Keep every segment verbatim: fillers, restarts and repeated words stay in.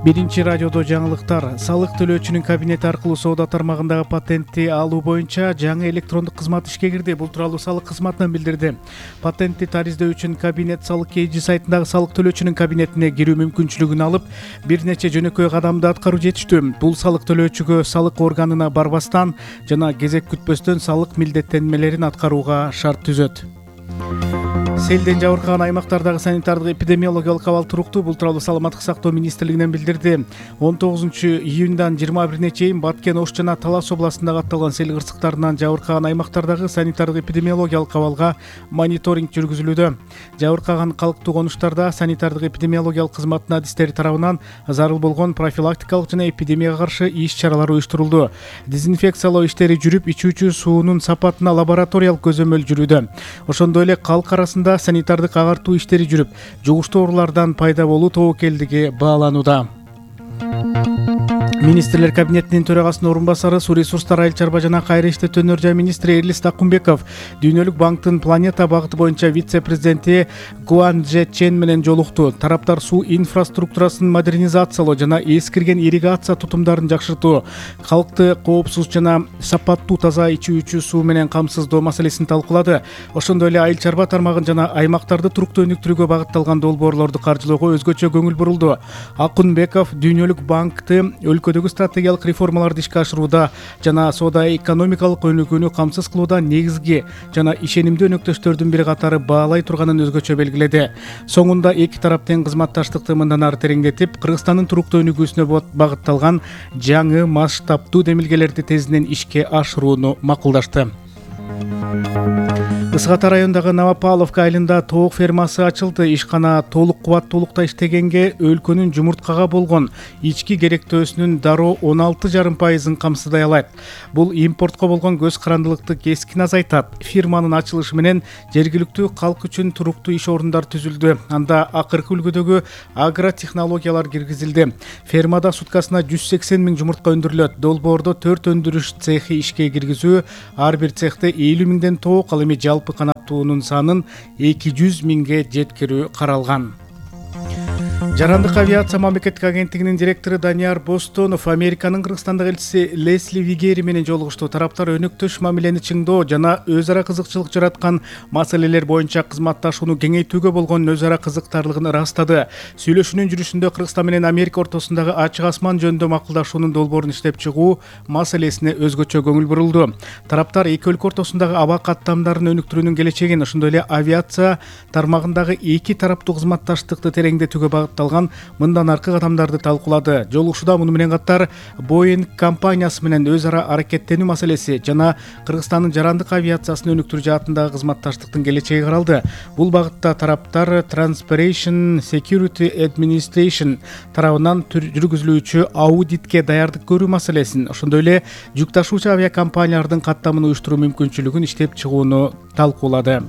Биринчи радиодо жаңылыктар. Салык төлөөчүнүн кабинети аркылуу соода тармагындагы патентти алуу боюнча жаңы электрондук кызмат ишке кирди. Бул тууралуу салык кызматынан билдирди. Патентти тариздөө үчүн кабинет салык kg сайтындагы салык төлөөчүнүн кабинетине кирүү мүмкүнчүлүгүн алып, бир нече жөнөкөй кадамды аткаруу жетиштүү. Бул салык төлөөчүгө салык органына барбастан жана кезек күтпөстөн салык милдеттенмелерин аткарууга шарт түзөт. Селден жабыркаган аймактардагы санитардык эпидемиологиялык абал туруктуу. Бул тууралуу Саламаттык сактоо министрлигинен билдирди. он тогузунчу июндан жыйырма бирине чейин Баткен, Ош жана Талас областындагы атталган сел кырсыктарынан жабыркаган аймактардагы санитардык эпидемиологиялык абалга мониторинг жүргүзүлүүдө. Жабыркаган калктуу конуштарда санитардык эпидемиологиялык кызматтын адистери тарабынан зарыл болгон профилактикалык жана эпидемияга каршы иш-чаралар уюштурулду. Дезинфекциялоо иштери жүрүп, ичүүчү суунун сапатына лабораториялык көзөмөл жүрүүдө. Ошондой эле калк арасында санитардык агартуу иштери жүрүп, жугуштуу оорулардан пайда болуу тобокелдиги бааланууда. Министрлер кабинетинин төрагасынын орун басары, суу ресурстары, айыл чарба жана кайра иштетүү жай министри Эрлис Такумбеков Дүйнөлүк банктын планета багыты боюнча вице-президенти Гуан Же Чен менен жолукту. Тараптар суу инфраструктурасын модернизациялоо жана эскирген ирригация тутумдарын жакшыртуу, калкты коопсуз жана сапаттуу таза ичүүчү суу менен камсыздоо маселесин талкуулады. Ошондой эле айыл чарба тармагын жана аймактарды туруктуу өнүктүрүүгө багытталган долбоорлорду каржылоого өзгөчө көңүл бурулду. Акунбеков Дүйнөлүк банкты өлкөдөгү стратегиялык реформаларды ишке ашырууда жана соода экономикалык өнүгүүнү камсыз кылууда негизги жана ишенимдүү өнөктөштөрдүн бири катары баалай турганын өзгөчө белгиледи. Соңунда эки тарап тең кызматташтыкты мындан ары тереңдетип, Кыргызстандын туруктуу өнүгүүсүнө багытталган жаңы масштабтуу демилгелерди тезинен ишке ашырууну макулдашты. Ысык Ата районундагы Новопавловка айылында тоок фермасы ачылды. Ишкана толук кубаттуулукта иштегенге өлкөнүн жумурткага болгон ички керектөөсүнүн дароо он алты жарым пайызын камсыздай алат. Бул импортко болгон көз карандылыкты кескин азайтат. Фирманын ачылышы менен жергиликтүү калк үчүн туруктуу иш орундар түзүлдү. Анда акыркы үлгүдөгү агротехнологиялар киргизилди. Фермада суткасына жүз сексен миң жумуртка өндүрүлөт. Долбоордо төрт өндүрүш цехи ишке киргизүү, ар бир цехте элүү миңден тоок, ал эми жалпы канаттуунун санын эки жүз миңге жеткирүү каралган. Жарандык авиация мамлекеттик агенттигинин директору Данияр Бостонов Американын Кыргызстандагы элчиси Лесли Вигери менен жолугушту. Тараптар өнөктөш мамилени чыңдоо жана өз ара кызыкчылык жараткан маселелер боюнча кызматташууну кеңейтүүгө болгон өз ара кызыктарлыгын ырастады. Сүйлөшүүнүн жүрүшүндө Кыргызстан менен Америка ортосундагы ачык асман жөнүндө макулдашуунун долбоорун иштеп чыгуу маселесине өзгөчө көңүл бурулду. Тараптар эки өлкө ортосундагы аба каттамдарын өнүктүрүүнүн келечегин, ошондой эле авиация тармагындагы эки тараптуу кызматташтыкты тереңдетүүгө багытталган мындан аркы кадамдарды талкуулады. Жолугушууда муну менен катар Boeing компаниясы менен өз ара аракеттенүү маселеси жана Кыргызстандын жарандык авиациясын өнүктүрүү жаатындагы кызматташтыктын келечеги каралды. Бул багытта тараптар Transportation Security Administration тарабынан жүргүзүлүүчү аудитке даярдык көрүү маселесин, ошондой эле жүк ташуучу авиакомпаниялардын каттамын уюштуруу мүмкүнчүлүгүн иштеп чыгууну талкуулады.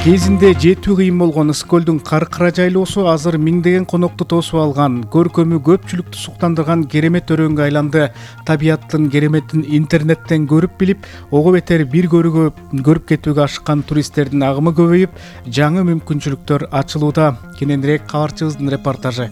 Кезинде жетүү кыйын болгон Ысык көлдүн Каркыра жайлоосу азыр миңдеген конокту тосуп алган. Көркөмү көпчүлүктү суктандырган керемет өрөөнгө айланды. Табияттын кереметин интернеттен көрүп билип, ого бетер бир көрүүгө көрүп кетүүгө ашыккан туристтердин агымы көбөйүп, жаңы мүмкүнчүлүктөр ачылууда. Кененирээк кабарчыбыздын репортажы.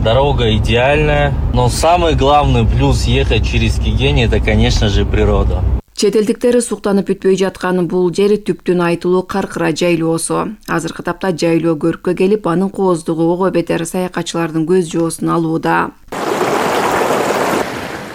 Дорога идеальная, но самый главный плюс ехать через Кигень — это, конечно же, природа. Чет элдиктер суктанып бүтпөй жаткан бул жер түптүн айтылуу Каркыра жайлоосу. Азыркы тапта жайлоо көрккө келип, анын кооздугу ого бетер саякатчылардын көз жоосун алууда.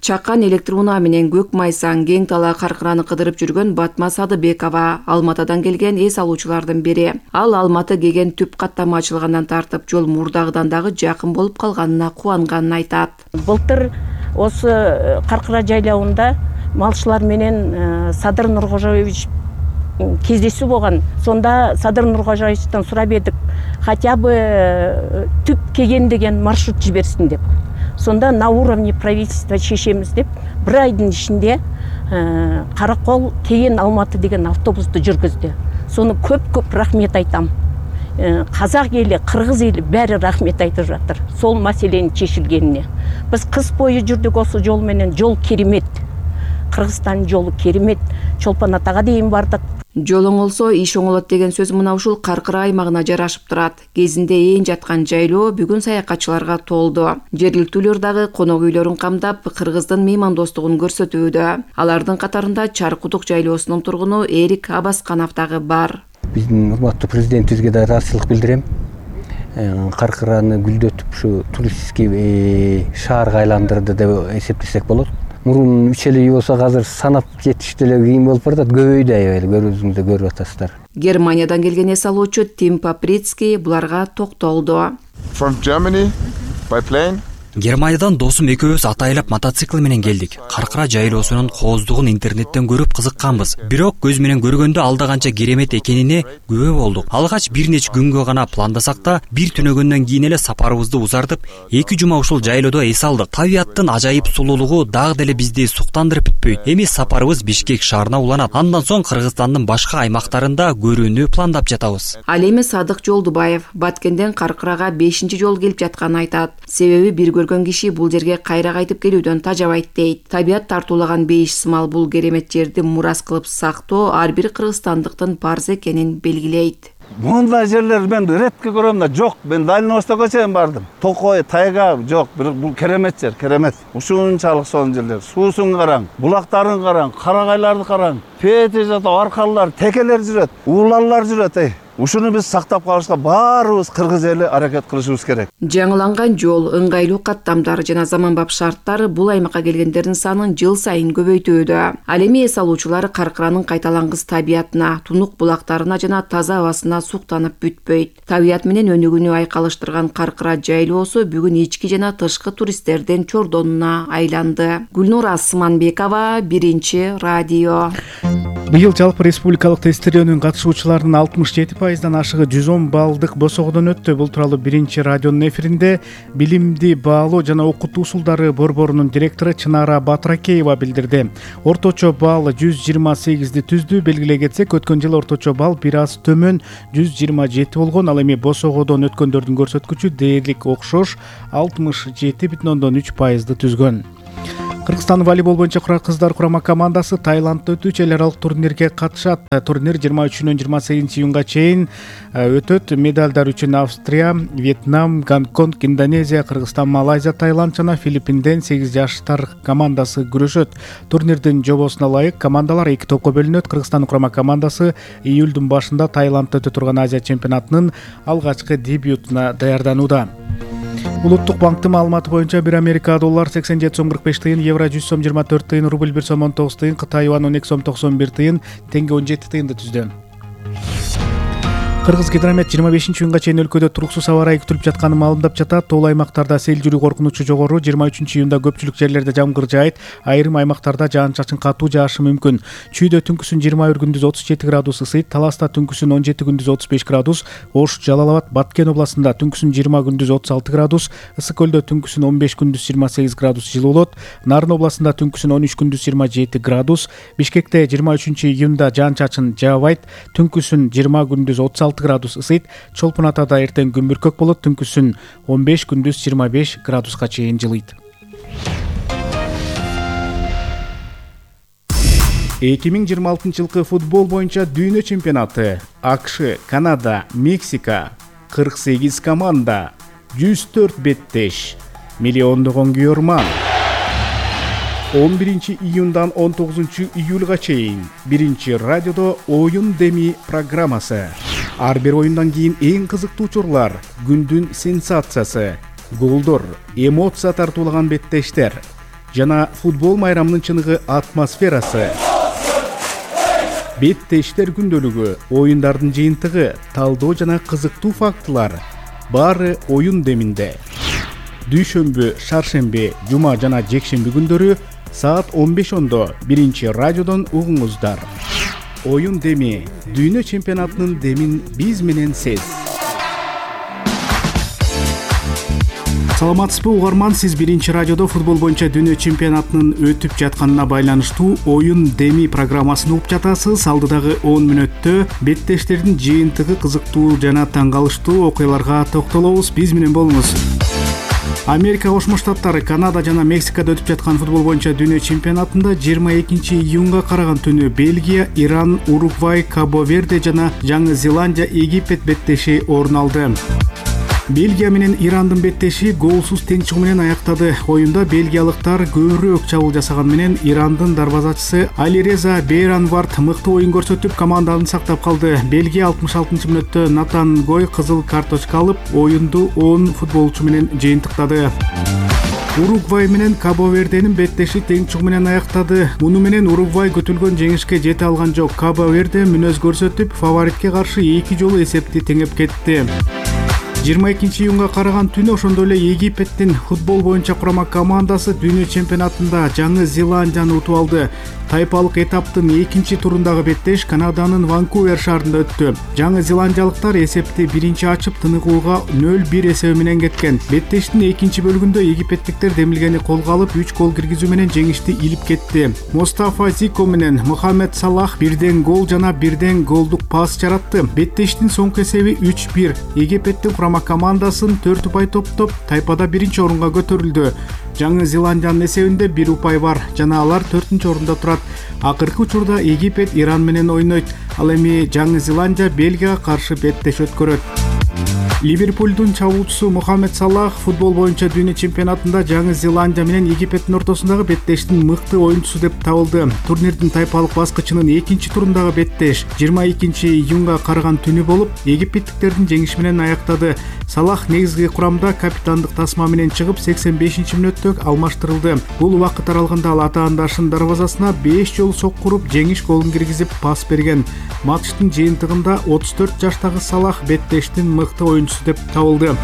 Чакан электр унаа менен көк майсан кең талаа Каркыраны кыдырып жүргөн Батма Садыбекова Алматадан келген эс алуучулардын бири. Ал Алматы кеген түп каттама ачылгандан тартып жол мурдагыдан дагы жакын болуп калганына кубанганын айтат. Былтыр осы Каркыра жайлауында малчылар менен Садыр Нуркожоевич кездесүү болгон. Сонда Садыр Нуркожоевичтен сурап едик, хотя бы түп кеген деген маршрут жиберсин деп. Сонда на уровне правительства чечемиз деп бир айдын ичинде Каракол Кеген Алматы деген автобусту жүргүздү. Сону көп-көп рахмет айтам. Казак эли, кыргыз эли баары рахмет айтып жатыр. Сол маселенин чечилгенине. Биз кыз бою жүрдүк осы жол менен, жол керемет. Кыргызстан жолу керемет. Чолпон Атага дейин бардык. Жол оңолсо иш оңолот деген сөз мына ушул Каркыра аймагына жарашып турат. Кезинде ээн жаткан жайлоо бүгүн саякатчыларга толду. Жергиликтүүлөр дагы конок үйлөрүн камдап, кыргыздын меймандостугун көрсөтүүдө. Алардын катарында Чаркудук жайлоосунун тургуну Эрик Абасканов дагы бар. Биздин урматтуу президентибизге да ыраазычылык билдирем. Каркыраны гүлдөтүп ушу туристский шаарга айландырды деп эсептесек болот. Мурун үч эле үй болсо азыр санап жетиш деле кийин болуп баратат. Көбөйдү аябай, көрүүзүңүздө көрүп атасыздар. Германиядан келген эс алуучу Тим Паприцкий буларга токтолду. From Germany by plane. Германиядан досум экөөбүз атайлап мотоцикл менен келдик. Каркыра жайлоосунун кооздугун интернеттен көрүп кызыкканбыз. Бирок көз менен көргөндө алда канча керемет экенине күбө болдук. Алгач бир нече күнгө гана пландасак да, бир түнөгөндөн кийин эле сапарыбызды узартып, эки жума ушул жайлоодо эс алдык. Табиаттын ажайып сулуулугу дагы деле бизди суктандырып бүтпөйт. Эми сапарыбыз Бишкек шаарына уланат. Андан соң Кыргызстандын башка аймактарында көрүүнү пландап жатабыз. Ал эми Садык Жолдубаев Баткенден Каркырага бешинчи жолу келип жатканын айтат. Себеби бир көргөн киши бул жерге кайра кайтып келүүдөн тажабайт дейт. Табият тартуулаган бейиш сымал бул керемет жерди мурас кылып сактоо ар бир кыргызстандыктын парзы экенин белгилейт. Мындай жерлер мен редко көрөм да, жок. Мен Дальний Востокко чейин бардым. Токой, тайга жок. Бирок бул керемет жер, керемет. Ушунчалык сонун жерлер. Суусун караң, булактарын караң, карагайларды караң. Пети жата аркалар, текелер жүрөт, уулалар жүрөт. Эй, ушуну биз сактап калышка баарыбыз кыргыз эли аракет кылышыбыз керек. Жаңыланган жол, ыңгайлуу каттамдар жана заманбап шарттар бул аймакка келгендердин санын жыл сайын көбөйтүүдө. Ал эми эс алуучулар Каркыранын кайталангыс табиятына, тунук булактарына жана таза абасына суктанып бүтпөйт. Табият менен өнүгүүнү айкалыштырган Каркыра жайлоосу бүгүн ички жана тышкы туристтердин чордонуна айланды. Гүлнур Асманбекова, Биринчи радио. Быйыл жалпы республикалык тестирөөнүн катышуучуларынын алтымыш жети пайыздан ашыгы жүз он баллдык босогодон өттү. Бул тууралуу Биринчи радионун эфиринде билимди баалоо жана окутуу усулдары борборунун директору Чынара Батыракеева билдирди. Орточо балл жүз жыйырма сегизди түздү. Белгилей кетсек, өткөн жылы орточо балл бир аз төмөн жүз жыйырма жети болгон. Ал эми босогодон өткөндөрдүн көрсөткүчү дээрлик окшош алтымыш жети бүтүн ондон үч пайызды түзгөн. Кыргызстан волейбол боюнча кыздар курама командасы Таиландда өтүүчү эл аралык турнирге катышат. Турнир жыйырма үчүнөн жыйырма сегизинчи июнга чейин өтөт. Медалдар үчүн Австрия, Вьетнам, Гонконг, Индонезия, Кыргызстан, Малайзия, Таиланд жана Филиппинден сегиз жаштар командасы күрөшөт. Турнирдин жобосуна ылайык командалар эки топко бөлүнөт. Кыргызстан курама командасы июлдун башында Таиландда өтө турган Азия чемпионатынын алгачкы дебютуна даярданууда. Улуттук банктын маалыматы боюнча бир Америка доллар сексен жети сом кырк беш тыйын, евро жүз сом жыйырма төрт тыйын, рубль бир сом он тогуз тыйын, Кытай юан он эки сом токсон бир тыйын, теңге он жети тыйынды түздү. Кыргыз гидромет жыйырма бешинчи июнга чейин өлкөдө туруксуз аба ырайы күтүлүп жатканын маалымдап жатат. Тоол аймактарда сел жүрүү коркунучу жогору. жыйырма үчүнчү июнда көпчүлүк жерлерде жамгыр жаайт. Айрым аймактарда жаан-чачын катуу жаашы мүмкүн. Чүйдө түнкүсүн жыйырма бир, күндүз отуз жети градус ысыйт. Таласта түнкүсүн он жети, күндүз отуз беш градус. Ош, Жалал Абад, Баткен областында түнкүсүн жыйырма, күндүз отуз алты градус. Ысык көлдө түнкүсүн он беш, күндүз жыйырма сегиз градус жылуу болот. Нарын областында түнкүсүн он үч, күндүз жыйырма жети градус. Бишкекте жыйырма үчүнчү июнда жаан-чачын жаабайт. Түнкүсүн жыйырма, күндүз отуз алты градус ысыйт. Чолпон Атада эртең күн бүркөк болот. Түнкүсүн он беш, күндүз жыйырма беш градуска чейин жылыйт. эки миң жыйырма алтынчы жылкы футбол боюнча дүйнө чемпионаты. АКШ, Канада, Мексика, кырк сегиз команда, жүз төрт беттеш, миллиондогон күйөрман. он биринчи июндан он тогузунчу июлга чейин Биринчи радиодо оюн деми программасы. Ар бир оюндан кийин эң кызыктуу учурлар, күндүн сенсациясы, голдор, эмоция тартуулаган беттештер жана футбол майрамынын чыныгы атмосферасы. Беттештер күндөлүгү, оюндардын жыйынтыгы, талдоо жана кызыктуу фактылар баары оюн деминде. Дүйшөмбү, шаршемби, жума жана жекшемби күндөрү саат он беш ондо Биринчи радиодон угуңуздар. Оюн деми, дүйнө чемпионатынын демин биз менен сез. Саламатсызбы угарман, сиз Биринчи радиодо футбол боюнча дүйнө чемпионатынын өтүп жатканына байланыштуу оюн деми программасын угуп жатасыз. Алдыдагы он мүнөттө беттештердин жыйынтыгы, кызыктуу жана таң калыштуу окуяларга токтолобуз. Биз менен болуңуз. Америка Кошмо Штаттары Канада жана Мексикада өтүп жаткан футбол боюнча дүйнө чемпионатында жыйырма экинчи июнга караган түнү Бельгия, Иран, Уругвай, Кабо-Верде жана Жаңы Зеландия, Египет беттеши орун алды. Бельгия менен Ирандын беттеши голсуз тең чыгуу менен аяктады. Оюнда бельгиялыктар көбүрөөк чабуул жасаган менен Ирандын дарбазачысы Алиреза Бейранвард мыкты оюн көрсөтүп, команданы сактап калды. Бельгия алтымыш алтынчы мүнөттө Натан Гой кызыл карточка алып, оюнду он футболчу менен жыйынтыктады. Уругвай менен Кабо-Верденин беттеши тең чыгуу менен аяктады. Муну менен Уругвай күтүлгөн жеңишке жете алган жок. Кабо-Верде мүнөз көрсөтүп, фаворитке каршы эки жолу эсепти теңеп кетти. жыйырма экинчи июнга караган түнү ошондой эле Египеттин футбол боюнча курама командасы дүйнө чемпионатында Жаңы Зеландияны утуп алды. Тайпалык этаптын экинчи турундагы беттеш Канаданын Ванкувер шаарында өттү. Жаңы зеландиялыктар эсепти биринчи ачып, тыныгууга нөл бир эсеби менен кеткен. Беттештин экинчи бөлүгүндө египеттиктер демилгени колго алып, үч гол киргизүү менен жеңишти илип кетти. Мустафа Зико менен Мухаммед Салах бирден гол жана бирден голдук пас жаратты. Беттештин соңку эсеби үч бир. Египеттин курама командасын төрт упай топтоп, тайпада биринчи орунга көтөрүлдү. Жаңы Зеландиянын эсебинде бир упай бар жана алар төртүнчү орунда турат. Акыркы учурда Египет Иран менен ойнойт. Ал эми Жаңы Зеландия Бельгияга каршы беттеш өткөрөт. Ливерпулдун чабуучусу Мухаммед Салах футбол боюнча дүйнө чемпионатында Жаңы Зеландия менен Египеттин ортосундагы беттештин мыкты оюнчусу деп табылды. Турнирдин тайпалык баскычынын экинчи турундагы беттеш жыйырма экинчи июнга караган түнү болуп, египеттиктердин жеңиши менен аяктады. Салах негизги курамда капитандык тасма менен чыгып, сексен бешинчи мүнөттө алмаштырылды. Бул убакыт аралыгында ал атаандашынын дарбазасына беш жолу соккуруп, жеңиш голун киргизип, пас берген. Матчтын жыйынтыгында отуз төрт жаштагы Салах беттештин мыкты оюнчусу деп табылды.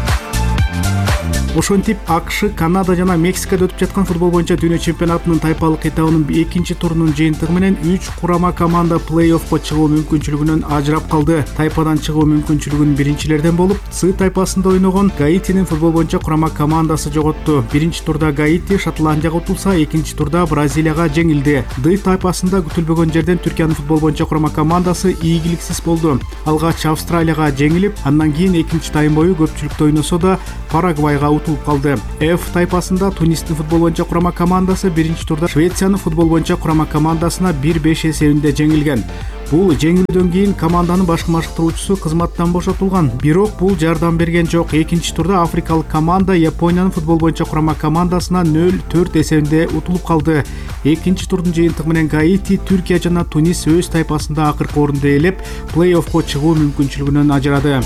Ошентип АКШ, Канада жана Мексикада өтүп жаткан футбол боюнча дүйнө чемпионатынын тайпалык этабынын экинчи турунун жыйынтыгы менен үч курама команда плей-оффко чыгуу мүмкүнчүлүгүнөн ажырап калды. Тайпадан чыгуу мүмкүнчүлүгүн биринчилерден болуп, С тайпасында ойногон Гаитинин футбол боюнча курама командасы жоготту. Биринчи турда Гаити Шотландияга утулса, экинчи турда Бразилияга жеңилди. Д тайпасында күтүлбөгөн жерден Түркиянын футбол боюнча курама командасы ийгиликсиз болду. Алгач Австралияга жеңилип, андан кийин экинчи тайм бою көпчүлүктө ойносо да Парагвайга утулуп калды. Ф тайпасында Тунистин футбол боюнча курама командасы биринчи турда Швециянын футбол боюнча курама командасына бир беш эсебинде жеңилген. Бул жеңилүүдөн кийин команданын баш машыктыруучусу кызматтан бошотулган. Бирок бул жардам берген жок. Экинчи турда африкалык команда Япониянын футбол боюнча курама командасына нөл төрт эсебинде утулуп калды. Экинчи турдун жыйынтыгы менен Гаити, Түркия жана Тунис өз тайпасында акыркы орунду ээлеп, плей-оффко чыгуу мүмкүнчүлүгүнөн ажырады.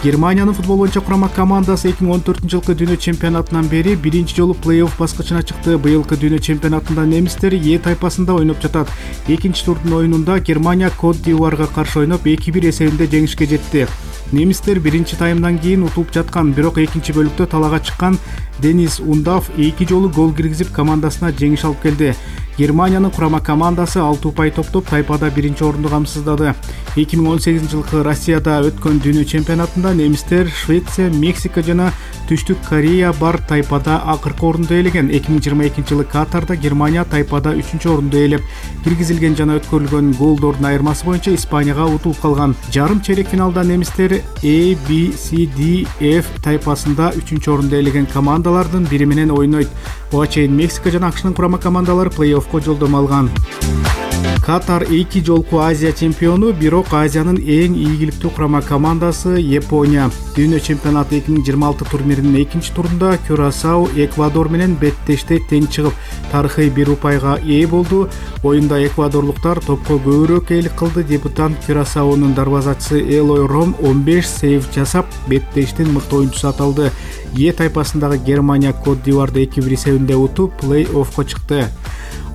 Германиянын футбол боюнча курама командасы эки миң он төртүнчү жылкы дүйнө чемпионатынан бери биринчи жолу плей-офф баскычына чыкты. Быйылкы дүйнө чемпионатында немистер Е тайпасында ойноп жатат. Экинчи турдун оюнунда Германия Кот д'Ивуарга каршы ойноп эки бир эсебинде жеңишке жетти. Немистер биринчи таймдан кийин утулуп жаткан, бирок экинчи бөлүктө талаага чыккан Денис Ундав эки жолу гол киргизип, командасына жеңиш алып келди. Германиянын курама командасы алты упай топтоп, тайпада биринчи орунду камсыздады. эки миң он сегизинчи жылкы Россияда өткөн дүйнө чемпионатында немистер Швеция, Мексика жана Түштүк Корея бар тайпада акыркы орунду ээлеген. эки миң жыйырма экинчи жылы Катарда Германия тайпада үчүнчү орунду ээлеп, киргизилген жана өткөрүлгөн голдордун айырмасы боюнча Испанияга утулуп калган. Жарым чейрек финалда немистер A, B, C, D, F тайпасында үчүнчү орунду ээлеген командалардын бири менен ойнойт. Буга чейин Мексика жана АКШнын курама командалары плей-оффко жолдомо алган. Катар эки жолку Азия чемпиону, бирок Азиянын эң ийгиликтүү курама командасы Япония. Дүйнө чемпионаты эки миң жыйырма алты турниринин экинчи турунда Кюрасау Эквадор менен беттеште тең чыгып, тарыхый бир упайга ээ болду. Оюнда эквадорлуктар топко көбүрөөк ээлик кылды. Дебютант Кюрасаунун дарбазачысы Элой Ром он беш сейв жасап, беттештин мыкты оюнчусу аталды. Е тайпасындагы Германия Кот д'Ивуарды эки бир эсебинде утуп, плей-оффко чыкты.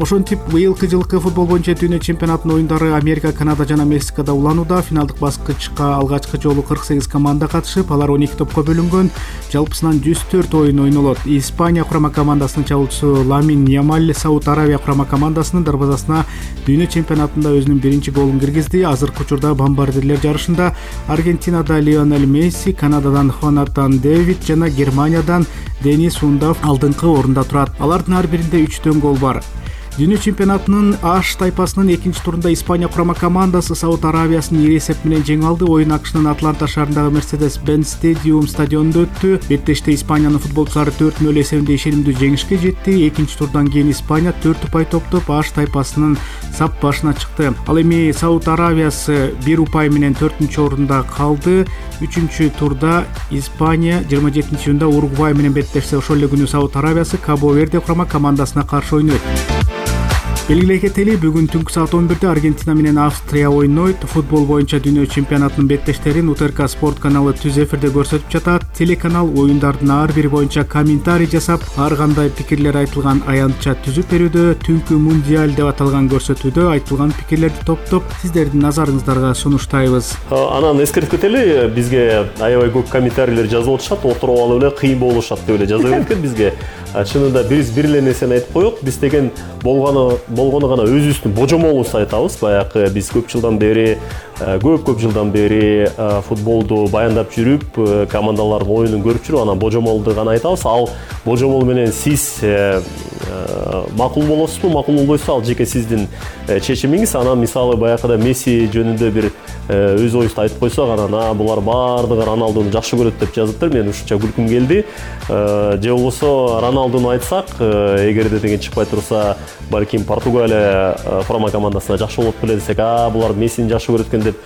Ошентип быйылкы жылкы футбол боюнча дүйнө чемпионатынын оюндары Америка, Канада жана Мексикада уланууда. Финалдык баскычка алгачкы жолу кырк сегиз команда катышып, алар он эки топко бөлүнгөн. Жалпысынан жүз төрт оюн ойнолот. Испания курама командасынын чабуучусу Ламин Ямаль Сауд Аравия курама командасынын дарбазасына дүйнө чемпионатында өзүнүн биринчи голун киргизди. Азыркы учурда бомбардирлер жарышында Аргентинада Лионель Месси, Канададан Хонатан Дэвид жана Германиядан Денис Ундав алдыңкы орунда турат. Алардын ар биринде үчтөн гол бар. Дүйнө чемпионатынын Аш тайпасынын экинчи турунда Испания курама командасы Сауд Аравиясын ири эсеп менен жеңе алды. Оюн АКШнын Атланта шаарындагы Mercedes-Benz Stadium стадионунда өттү. Беттеште Испаниянын футболчулары төрт нөл эсебинде ишенимдүү жеңишке жетти. Экинчи турдан кийин Испания төрт упай топтоп Аш тайпасынын сап башына чыкты. Ал эми Сауд Аравиясы бир упай менен төртүнчү орунда калды. Үчүнчү турда Испания жыйырма жетинчи июнда Уругвай менен беттешсе, ошол эле күнү Сауд Аравиясы Кабо Верде курама командасына каршы ойнойт. Белгилей кетели, бүгүн түнкү саат он бирде Аргентина менен Австрия ойнойт. Футбол боюнча дүйнө чемпионатынын беттештерин УТРК спорт каналы түз эфирде көрсөтүп жатат. Телеканал оюндардын ар бири боюнча комментарий жасап, ар кандай пикирлер айтылган аянтча түзүп берүүдө, түнкү мундиаль деп аталган көрсөтүүдө айтылган пикирлерди топтоп сиздердин назарыңыздарга сунуштайбыз. Анан эскертип кетели, бизге аябай көп комментарийлер жазып атышат, отуруп алып эле кыйын болушат деп эле жаза беришкен бизге. Чынында биз бир эле нерсени айтып коелук, биз деген болгону болгону гана өзүбүздүн божомолубузду айтабыз. Баягы биз көп жылдан бери, көп көп жылдан бери футболду баяндап жүрүп, командалардын оюнун көрүп жүрүп, анан божомолду гана айтабыз. Ал божомол менен сиз макул болосузбу, макул болбойсузбу, ал жеке сиздин чечимиңиз. Анан мисалы баягыда Месси жөнүндө бир өз оюбузду айтып койсок, анан а булар баардыгы Роналдуну жакшы көрөт деп жазыптыр. Мен ушунча күлкүм келди. Же болбосо Роналдуну айтсак, эгерде деген чыкпай турса, балким Португалия курама командасына жакшы болот беле десек, а булар Мессини жакшы көрөт экен деп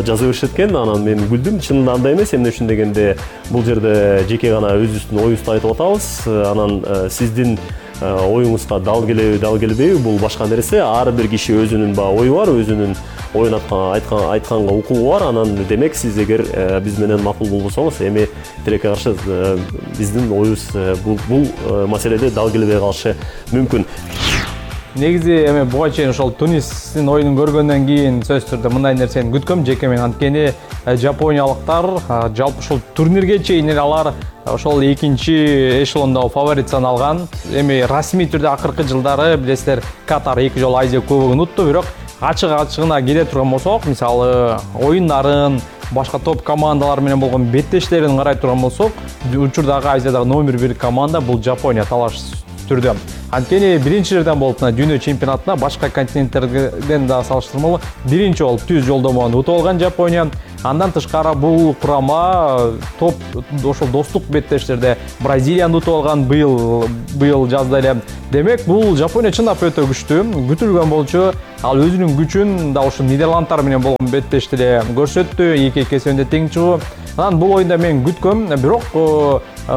жаза беришет экен. Анан мен күлдүм. Чынында андай эмес. Эмне үчүн дегенде, бул жерде жеке гана өзүбүздүн оюбузду айтып атабыз. Анан сиздин оюңузга дал келеби, дал келбейби, бул башка нерсе. Ар бир киши өзүнүн баягы ою бар, өзүнүн оюн айткан айтканга укугу бар. Анан демек сиз эгер биз менен макул болбосоңуз, эми тилекке каршы биздин оюбуз бул бул маселеде дал келбей калышы мүмкүн. Негизи эми буга чейин ошол Тунистин оюнун көргөндөн кийин сөзсүз түрдө мындай нерсени күткөм. Жеке мен анткени жапониялыктар жалпы ушул турнирге чейин эле алар ошол экинчи эшелондогу фаворит саналган. Эми расмий түрдө акыркы жылдары билесиздер, Катар эки жолу Азия кубогун утту, бирок ачык ачыгына келе турган болсок, мисалы оюннарын, башка топ командалар менен болгон беттештерин карай турган болсок, учурдагы Азиядагы номер бир команда бул Жапония талаш түрдө. Анткени биринчи жерден болуп, дүйнө чемпионатына башка континенттерден да салыштырмалуу биринчи болуп түз жолдомону утуп алган Жапония. Андан тышкары бул курама топ ошол достук беттештерде Бразилияны утуп алган быйыл быйыл жазда эле. Демек бул Жапония чындап өтө күчтүү, күтүлгөн болчу. Ал өзүнүн күчүн да ошо Нидерландтар менен болгон беттеште эле көрсөттү, эки-эки эсебинде тең чыгуу. Анан бул оюнда мен күткөм, бирок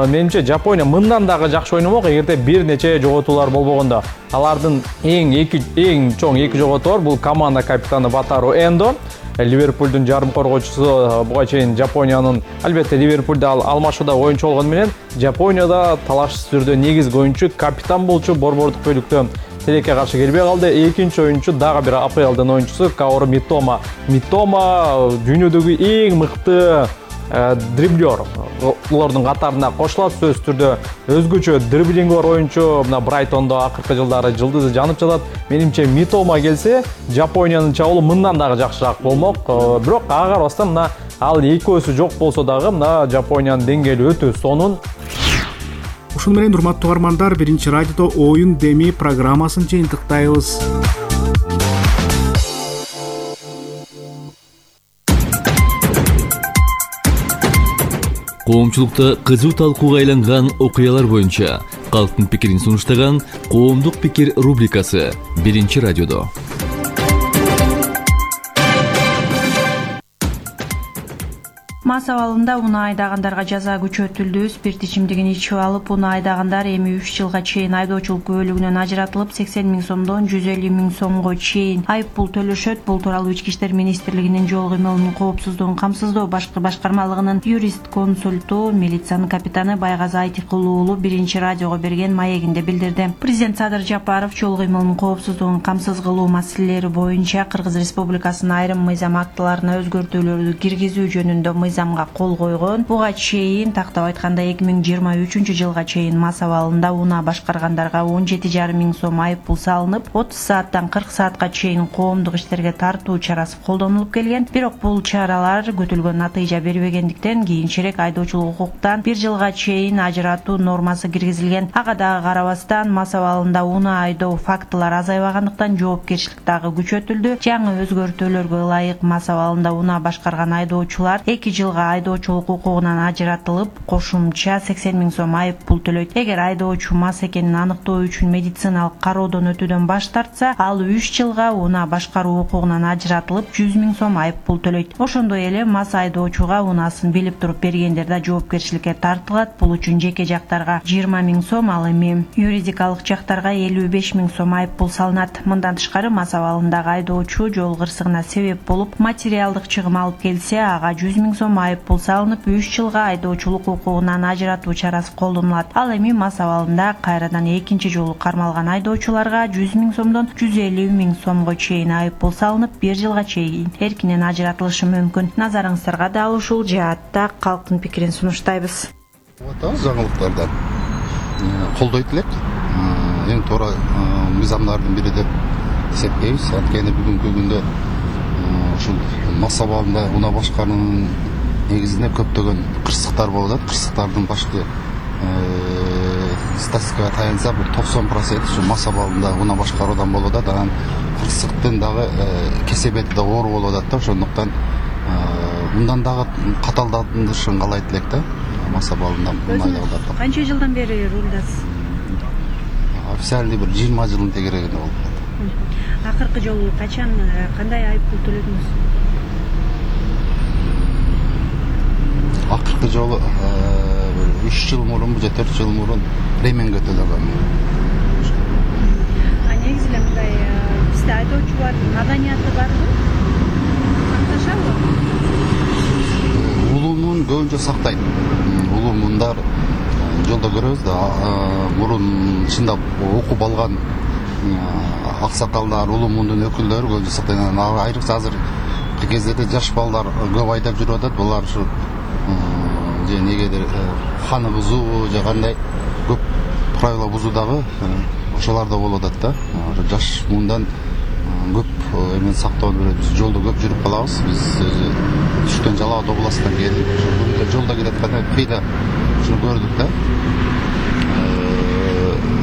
менимче Жапония мындан дагы жакшы ойномок, эгерде бир нече жоготуулар болбогондо. Алардын эң эки эң чоң эки жоготуу бар. Бул команда капитаны Ватару Эндо, Ливерпулдун жарым коргоочусу. Буга чейин Жапониянын, албетте Ливерпулда алмашууда оюнчу болгону менен, Жапонияда талашсыз түрдө негизги оюнчу, капитан болчу, борбордук бөлүктө тилекке каршы келбей калды. Экинчи оюнчу дагы бир АПЛдын оюнчусу Каору Митома. Митома дүйнөдөгү эң мыкты дриблер. Улардын катарына кошулат, сөзсүз түрдө өзгөчө дриблинги бар оюнчу. Мына Брайтондо акыркы жылдары жылдызы жанып жатат. Менимче Митома келсе, Жапониянын чабуулу мындан дагы жакшыраак болмок. Бирок ага карабастан мына ал экөөсү жок болсо дагы мына Жапониянын деңгээли өтө сонун. Ушун менен урматтуу угармандар, биринчи радиодо оюн деми программасын жыйынтыктайбыз. Коомчулукта кызуу талкууга айланган окуялар боюнча калктын пикирин сунуштаган Коомдук пикир рубрикасы биринчи радиодо. Мас абалында унаа айдагандарга жаза күчөтүлдү. Спирт ичимдигин ичип алып унаа айдагандар эми үч жылга чейин айдоочулук күбөлүгүнөн ажыратылып, сексен миң сомдон жүз элүү миң сомго чейин айып пул төлөшөт. Бул тууралуу Ички иштер министрлигинин жол кыймылынын коопсуздугун камсыздоо башкы башкармалыгынын юрист консульту, милициянын капитаны Байгазы Айтыкул уулу биринчи радиого берген маегинде билдирди. Президент Садыр Жапаров жол кыймылынын коопсуздугун камсыз кылуу маселелери боюнча Кыргыз Республикасынын айрым мыйзам актыларына өзгөртүүлөрдү киргизүү жөнүндө мыйзам мыйзамга кол койгон. Буга чейин тактап айтканда эки миң жыйырма үчүнчү жылга чейин мас абалында унаа башкаргандарга он жети жарым миң сом айып пул салынып, отуз сааттан кырк саатка чейин коомдук иштерге тартуу чарасы колдонулуп келген. Бирок бул чаралар күтүлгөн натыйжа бербегендиктен кийинчерээк айдоочулук укуктан бир жылга чейин ажыратуу нормасы киргизилген. Ага дагы карабастан мас абалында унаа айдоо фактылары азайбагандыктан жоопкерчилик дагы күчөтүлдү. Жаңы өзгөртүүлөргө ылайык мас абалында унаа башкарган айдоочулар эки жылга айдоочулук укугунан ажыратылып, кошумча сексен миң сом айып пул төлөйт. Эгер айдоочу мас экенин аныктоо үчүн медициналык кароодон өтүүдөн баш тартса, ал үч жылга унаа башкаруу укугунан ажыратылып, жүз миң сом айып пул төлөйт. Ошондой эле мас айдоочуга унаасын билип туруп бергендер да жоопкерчиликке тартылат. Бул үчүн жеке жактарга жыйырма миң сом, ал эми юридикалык жактарга элүү беш миң сом айып пул салынат. Мындан тышкары мас абалындагы айдоочу жол кырсыгына себеп болуп, материалдык чыгым алып келсе, ага жүз миң сом айып пул салынып, үч жылга айдоочулук укугунан ажыратуу чарасы колдонулат. Ал эми мас абалында кайрадан экинчи жолу кармалган айдоочуларга жүз миң сомдон жүз элүү миң сомго чейин айып пул салынып, бир жылга чейин эркинен ажыратылышы мүмкүн. Назарыңыздарга дал ушул жаатта калктын пикирин сунуштайбыз. Жаңылыктардан колдойт элек. Эң туура мыйзамдардын бири деп эсептейбиз. Анткени бүгүнкү күндө ушул мас абалында унаа башкаруунун негизинде көптөгөн кырсыктар болуп атат. Кырсыктардын башкы статистикага таянса, бул токсон процент ушу мас абалында унаа башкаруудан болуп атат. Анан кырсыктын дагы кесепети да оор болуп атат да. Ошондуктан мындан дагы каталдандырышын каалайт элек да. Мас абалында унаа. Канча жылдан бери рулдасыз? Официалдуу бир жыйырма жылдын тегерегинде болуп атат. Акыркы жолу качан, кандай айып пул төлөдүңүз? Акыркы жолу үч жыл мурун же төрт жыл мурун ременге төлөгөм. А негизи эле мындай бизде айдоочулардын маданияты барбы? Сакташабы? Улуумун көбүнчө сактайт. Улуумундар жолдо көрөбүз да, мурун чындап окуп алган аксакалдар, улуумундун өкүлдөрү көбүнчө сактайт. Айрыкча азыркы кездерде жаш балдар көп айдап жүрүп атат. Булар ушу же негедир ханы бузуу же кандай көп правила бузуудагы ошолор да болуп атат да. Жаш мындан көп эмен сактоону берет. Биз жолдо көп жүрүп калабыз. Биз түштөн Жалал Абад областынан келдик. Ошол жолдо келатканда кыйда ушуну көрдүк да.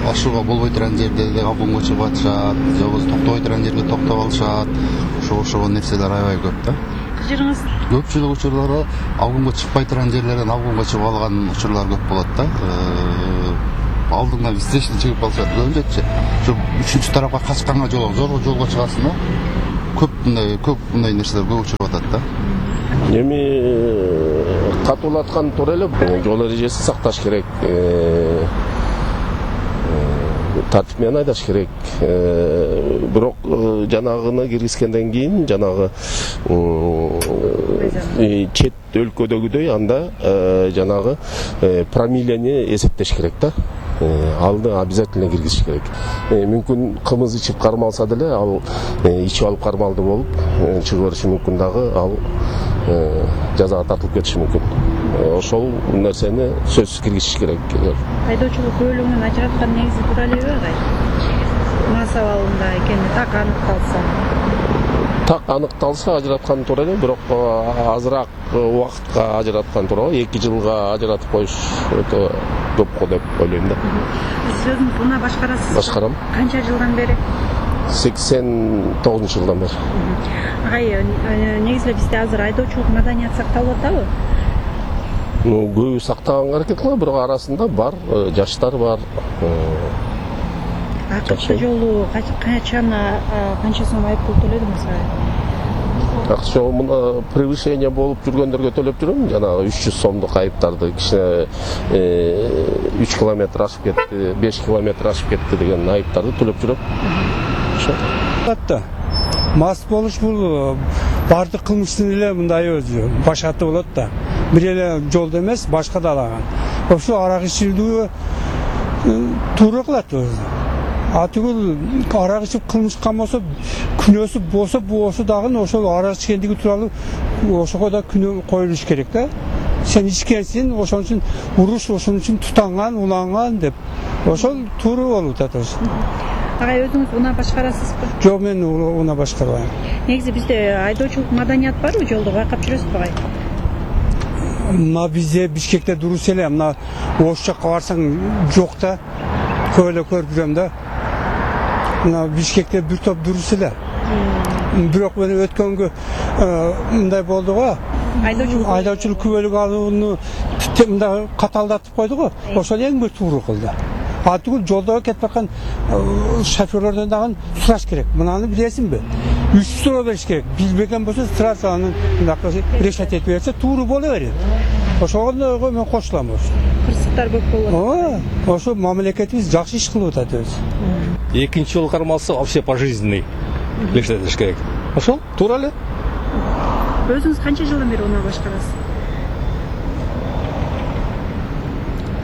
Ашууга болбой турган жерде де абгонго чыгып атышат, же болбосо токтобой турган жерге токтоп алышат. Ошо ошол нерселер аябай көп да. Кыжырыңыз? Көпчүлүк учурларда абгонго чыкпай турган жерлерден абгонго чыгып алган учурлар көп болот да. Алдыңдан встречный чыгып калышат. Көбүнчөчү ушу үчүнчү тарапка качканга жол, зорго жолго чыгасың да. Көп мындай көп мындай нерселер көп учуруп атат да. Эми катуулаткан туура эле, жол эрежесин сакташ керек. Тартип менен айдаш керек. Бирок жанагыны киргизгенден кийин жанагы чет өлкөдөгүдөй анда жанагы промиллени эсептеш керек да. Алды обязательно киргизиш керек. Мүмкүн кымыз ичип кармалса деле, ал ичип алып кармалды болуп чыгып бериши мүмкүн дагы, ал жазага тартылып кетиши мүмкүн. Ошол нерсени сөзсүз киргизиш керек. Айдоочулук бөлүмүнөн ажыраткан негизи туура элеби агай? Мас абалында экени так аныкталса. Так аныкталса ажыраткан туура эле, бирок азыраак убакытка ажыраткан туура. эки жылга ажыратып коюш өтө көп го деп ойлойм да. Сиз өзүңүз унаа башкарасыз? Башкарам. Канча жылдан бери? сексен тогузунчу жылдан бери. Агай, негизи эле бизде азыр айдоочулук маданият сакталып атабы? Ну, көбү сактаганга аракет кылат, бирок арасында бар, жаштар бар. Акыркы жолу качан канча сом айып пул төлөдүңүз? Акыркы жолу мына превышение болуп жүргөндөргө төлөп жүрөм, жанагы үч жүз сомдук айыптарды, кичине үч километр ашып кетти, беш километр ашып кетти деген айыптарды төлөп жүрөм. Ошо. Атта. Мас болуш бул бардык кылмыштын эле мындай өзү башаты болот да. Бир эле жолдо эмес, башка да алаган. Ошо арак ичилүү туура кылат өзү. Атыгыл арак ичип кылмыш кылмаса, күнөөсү болсо, болсо дагы ошол арак ичкендиги тууралуу ошого да күнөө коюлуш керек да. Сен ичкенсиң, ошон үчүн уруш ошон үчүн тутанган, уланган деп. Ошол туура болуп атат. Агай, өзүңүз унаа башкарасызбы? Жок, мен унаа башкарбайм. Негизи бизде айдоочулук маданият барбы, жолдо байкап жүрөсүзбү агай? Мына бизде Бишкекте дурус эле, мына ош жакка барсаң жок да. Көп эле көрүп жүрөм да. Мына Бишкекте бир топ дурус эле. Бирок мен өткөнгө мындай болду го. Айдоочулук айдоочулук күбөлүк алууну мындай каталдатып койду го. Ошол эң бир туура кылды. А түгүл жолдо кетип аткан шоферлордон дагы сураш керек. Мынаны билесиңби? Үч суроо бериш керек. Билбеген болсо сразу аны мынакы решать этип берсе туура боло берет. Ошого мен кошулам. Кырсыктар көп болот. Ошо мамлекетибиз жакшы иш кылып атат өзү. Экинчи жол кармалса вообще пожизненный решать этиш керек. Ошол туура эле. Өзүңүз канча жылдан бери унаа башкарасыз?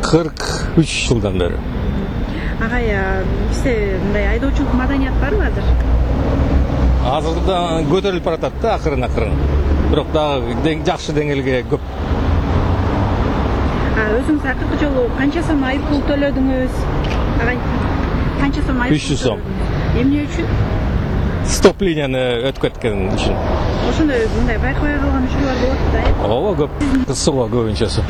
кырк үч жылдан бери. Агай, бизде мындай айдоочулук маданият барбы азыр? Азырда көтөрүлүп баратат да акырын-акырын. Бирок дагы жакшы деңгээлге көп. А өзүңүз акыркы жолу канча сом айып пул төлөдүңүз? Агай, канча сом айып? үч жүз сом. Эмне үчүн? Стоп-линияны өтүп кеткен үчүн. Ошондой мындай байкабай калган учурлар болот да, э? Ооба, көп. Кысылга көбүнчөсү.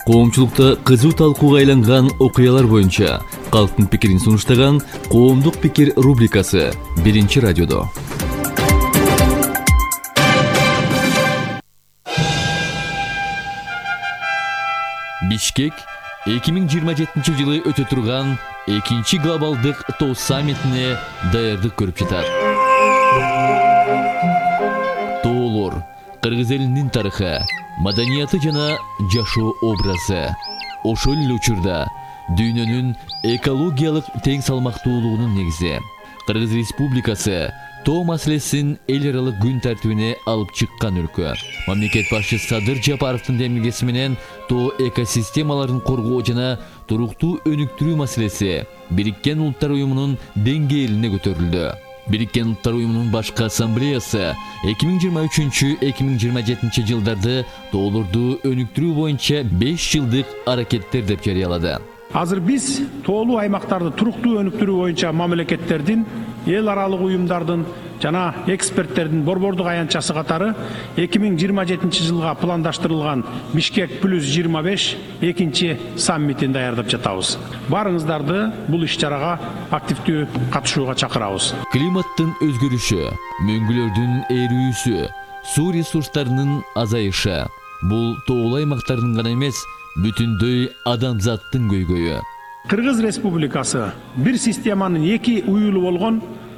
Коомчулукта кызуу талкууга айланган окуялар боюнча калктын пикирин сунуштаган Коомдук пикир рубрикасы биринчи радиодо. Бишкек эки миң жыйырма жетинчи жылы өтө турган экинчи глобалдык тоо саммитине даярдык көрүп жатат. Тоолор кыргыз элинин тарыхы, маданияты жана жашоо образы. Ошол эле учурда дүйнөнүн экологиялык тең салмактуулугунун негизи. Кыргыз Республикасы тоо маселесин эл аралык күн тартибине алып чыккан өлкө. Мамлекет башчысы Садыр Жапаровдун демилгеси менен тоо экосистемаларын коргоо жана туруктуу өнүктүрүү маселеси Бириккен Улуттар уюмунун деңгээлине көтөрүлдү. Бириккен Улуттар уюмунун башкы ассамблеясы эки миң жыйырма үчүнчү — эки миң жыйырма жетинчи жылдарды тоолорду өнүктүрүү боюнча беш жылдык аракеттер деп жарыялады. Азыр биз тоолуу аймактарды туруктуу өнүктүрүү боюнча мамлекеттердин, эл аралык уюмдардын жана эксперттердин борбордук аянтчасы катары эки миң жыйырма жетинчи жылга пландаштырылган Бишкек плюс жыйырма беш экинчи саммитин даярдап жатабыз. Барыңыздарды бул иш-чарага активдүү катышууга чакырабыз. Климаттын өзгөрүшү, мөңгүлөрдүн эрүүсү, суу ресурстарынын азайышы бул тоолуу аймактардын гана эмес, бүтүндөй адамзаттын көйгөйү. Кыргыз Республикасы бир системанын эки уюлу болгон